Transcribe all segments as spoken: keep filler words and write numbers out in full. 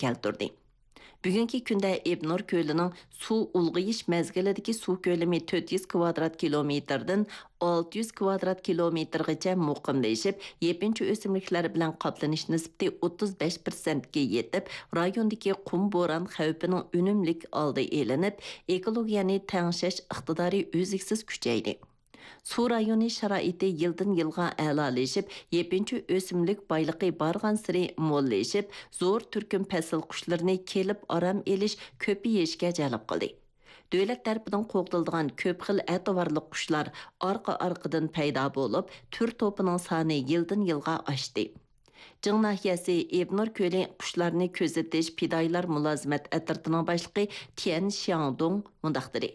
كەلتۈردى. بۈگۈنكى كۈندە ئېبنور كۆلىنىڭ سۇ ئۇلغىيىش مەزگىلىدىكى سۇ كۆلىمى تۆت يۈز كۋادرات كىلومېتىردىن ئالتە يۈز كۋادرات كىلومېتىرغىچە مۇقىملىشىپ، يېپىنچا ئۆسۈملۈكلەر بىلەن قاپلىنىش نىسبىتى ئوتتۇز بەش پىرسەنتكە يېتىپ، رايوندىكى قۇم بوران خەۋپىنىڭ ئۈنۈملۈك ئالدى ئېلىنىپ، ئېكولوگىيەنى تەڭشەش ئىقتىدارى ئۈزلۈكسىز كۈچەيدى. سۇ رايونى شارائىتى يىلدىن يىلغا ئەلالىشىپ، يېپىنچا ئۆسۈملۈك بايلىقى بارغانسېرى موللىشىپ، زور تۈركۈم پەسىل قۇشلىرىنى كېلىپ ئارام ئېلىش، كۆپىيىشكە جەلپ قىلدى. دۆلەت تەرىپىدىن قوغدىلىدىغان كۆپ خىل ئەتىۋارلىق قۇشلار ئارقا-ئارقىدىن پەيدا بولۇپ، تۈر توپىنىڭ سانى يىلدىن يىلغا ئاشتى. جىڭ ناھىيەسى ئېبنور كۆلى قۇشلارنى كۆزىتىش پىدائىيلار مۇلازىمەت ئەترىتىنىڭ باشلىقى تيەن شياڭدۇڭ مۇنداق دېدى: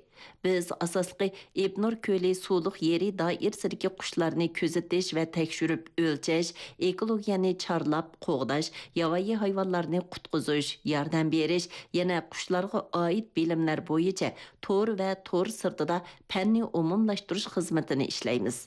بىز ئاساسلىقى ئېبنور كۆلى سۇلۇق يېرى دائىرىسىدىكى قۇشلارنى كۆزىتىش ۋە تەكشۈرۈپ ئۆلچەش، ئېكولوگىيەنى چارلاپ قوغداش، ياۋايى ھايۋانلارنى قۇتقۇزۇش، ياردەم بېرىش، يەنە قۇشلارغا ئائىت بىلىملەر بويىچە تور ۋە تور سىرتىدا پەننى ئومۇملاشتۇرۇش خىزمىتىنى ئىشلەيمىز.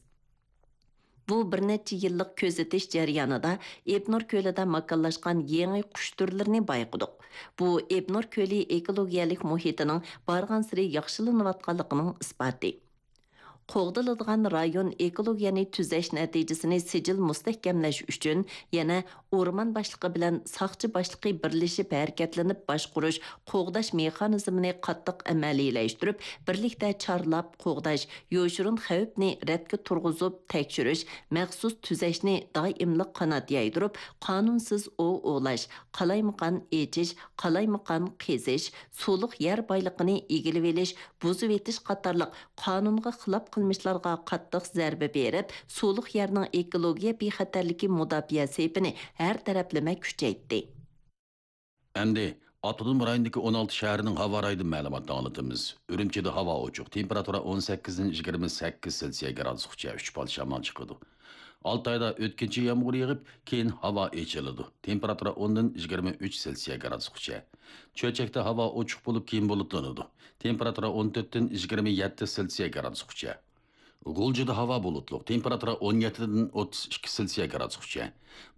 بۇ بىر نەچچە يىللىق كۆزىتىش جەريانىدا ئېبنور كۆلىدە ماكانلاشقان يېڭى قۇش تۈرلىرىنى بايقىدۇق. بۇ ئېبنور كۆلى ئېكولوگىيەلىك مۇھىتىنىڭ بارغانسېرى ياخشىلىنىۋاتقانلىقىنىڭ ئىسپاتى. قوغدىلىدىغان رايون ئېكولوگىيەنى تۈزەش نەتىجىسىنى سىجىل مۇستەھكەملەش ئۈچۈن يەنە ئورمان باشلىقى بىلەن ساقچى باشلىقى بىرلىشىپ ھەرىكەتلىنىپ باشقۇرۇش، قوغداش مېخانىزمىنى قاتتىق ئەمەلىيلەشتۈرۈپ، بىرلىكتە چارلاپ قوغداش، يوشۇرۇن خەۋپنى رەتكە تۇرغۇزۇپ تەكشۈرۈش، مەخسۇس تۈزەشنى دائىملىق قانات يايدۇرۇپ، قانۇنسىز ئوۋ ئوۋلاش، قالايمىقان ئېچىش، قالايمىقان قېزىش، سۇلۇق يەر بايلىقىنى ئىگىلىۋېلىش، بۇزۇۋېتىش قاتارلىق قانۇنغا خىلاپ قىلمىشلارغا قاتتىق زەربە بېرىپ، سۇلۇق يەرنىڭ ئېكولوگىيە بىخەتەرلىكى مۇداپىئە سېپىنى ھەر تەرەپلىمە كۈچەيتتى. ئەمدى ئاپتونوم رايوندىكى ئون ئالتە شەھەرنىڭ ھاۋا رايىدىن مەلۇماتنى ئاڭلىتىمىز. ئۈرۈمچىدە ھاۋا ئوچۇق، تېمپېراتۇرا ئون سەككىزدىن يىگىرمە سەككىز سېلسىيە گرادۇسقىچە، ئۈچ پال شامال چىقىدۇ. ئالتايدا ئۆتكۈنچى يامغۇر يېغىپ، كېيىن ھاۋا ئېچىلىدۇ. تېمپېراتۇرا ئوندىن يىگىرمە ئۈچ سېلسىيە گرادۇسقىچە. چۆچەكتە ھاۋا ئوچۇق بولۇپ، كېيىن بۇلۇتلىنىدۇ. تېمپېراتۇرا ئون تۆتتىن يىگىرمە يەتتە سېلسىيە گرادۇسقىچە. غۇلجىدا ھاۋا بۇلۇتلۇق، تېمپېراتۇرا ئون يەتتىدىن ئوتتۇز ئىككى سېلسىيە گرادۇسقىچە.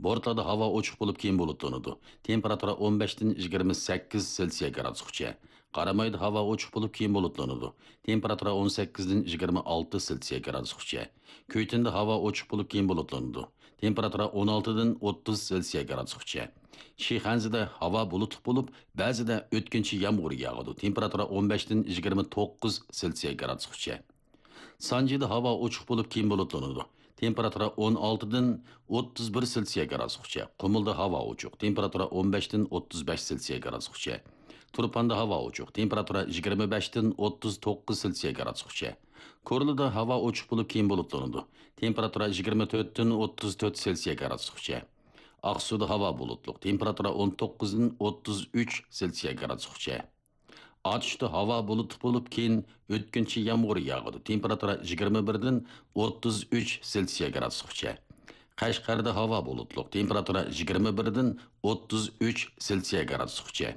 بورتالادا ھاۋا ئوچۇق بولۇپ، كېيىن بۇلۇتلىنىدۇ. تېمپېراتۇرا ئون بەشتىن يىگىرمە سەككىز سېلسىيە گرادۇسقىچە. قارامايدا ھاۋا ئوچۇق بولۇپ، كېيىن بۇلۇتلىنىدۇ. تېمپېراتۇرا ئون سەككىزدىن يىگىرمە ئالتە سېلسىيە گرادۇسقىچە. كۈيتۈندە ھاۋا ئوچۇق بولۇپ، كېيىن بۇلۇتلىنىدۇ. تېمپېراتۇرا ئون ئالتىدىن ئوتتۇز سېلسىيە گرادۇسقىچە. شىخەنزىدە ھاۋا بۇلۇتلۇق بولۇپ، بەزىدە ئۆتكۈنچى يامغۇر ياغىدۇ. تېمپېراتۇرا ئون بەشتىن يىگىرمە توققۇز سېلسىيە گرادۇسقىچە. سانجىدا ھاۋا ئوچۇق بولۇپ، كېيىن بۇلۇتلىنىدۇ. تېمپېراتۇرا ئون ئالتىدىن ئوتتۇز بىر سېلسىيە گرادۇسقىچە. قۇمۇلدا ھاۋا ئوچۇق. تېمپېراتۇرا ئون بەشتىن ئوتتۇز بەش سېلسىيە گرادۇسقىچە. تۇرپاندا ھاۋا ئوچۇق. تېمپېراتۇرا يىگىرمە بەشتىن ئوتتۇز توققۇز سېلسىيە گرادۇسقىچە. كورلىدا ھاۋا ئوچۇق بولۇپ، كېيىن بۇلۇتلىنىدۇ. تېمپېراتۇرا يىگىرمە تۆتتىن ئوتتۇز تۆت سېلسىيە گرادۇسقىچە. ئاقسۇدا ھاۋا بۇلۇتلۇق. تېمپېراتۇرا ئون توققۇزدىن ئوتتۇز ئۈچ سېلسىيە گرادۇسقىچە. ئاتۇشتا ھاۋا بۇلۇتلۇق بولۇپ، كېيىن ئۆتكۈنچى يامغۇر ياغىدۇ. تېمپېراتۇرا يىگىرمە بىردىن ئوتتۇز ئۈچ سېلسىيە گرادۇسقىچە. قەشقەردە ھاۋا بۇلۇتلۇق. تېمپېراتۇرا يىگىرمە بىردىن ئوتتۇز ئۈچ سېلسىيە گرادۇسقىچە.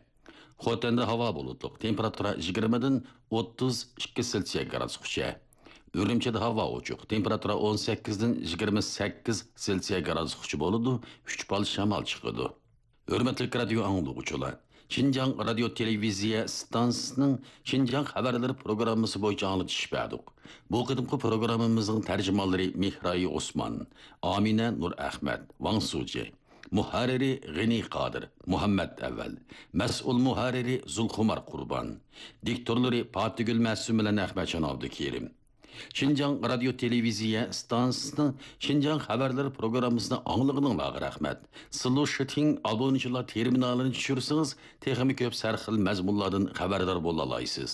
خوتەندە ھاۋا بۇلۇتلۇق. تېمپېراتۇرا يىگىرمىدىن ئوتتۇز ئىككى سېلسىيە گرادۇسقىچە. ئۈرۈمچىدە ھاۋا ئوچۇق. تېمپېراتۇرا ئون سەككىزدىن يىگىرمە سەككىز سېلسىيە گرادۇسقىچە بولىدۇ. ئۈچ پال شامال چىقىدۇ. ھۆرمەتلىك رادىيو ئاڭلىغۇچىلار! شىنجاڭ رادىيو تېلېۋىزىيە ئىستانسىسىنىڭ شىنجاڭ خەۋەرلىرى پروگراممىسى بويىچە ئاڭلىتىش بەردۇق. بۇ قېتىمقى پروگراممىمىزنىڭ تەرجىمانلىرى مېھرايى ئوسمان، ئامىنە نۇرئەخمەت، ۋاڭ سۇجى، مۇھەررىرى غېنى قادىر، مۇھەممەد ئەۋەل، مەسئۇل مۇھەررىرى زۇلخۇمار قۇربان، دىكتورلىرى پاتىگۈل مەسۇم بىلەن ئەخمەتجان ئابدۇكېرىم. شىنجاڭ رادىيو تېلېۋىزىيە ئىستانسىسىنىڭ شىنجاڭ خەۋەرلىرى پروگراممىسىنى ئاڭلىغىنىڭلارغا رەھمەت. سىلۇشىتىڭ ئابۇنىچىلار تېرمىنالىنى چۈشۈرسىڭىز، تېخىمۇ كۆپ سەرخىل مەزمۇنلاردىن خەۋەردار بولالايسىز.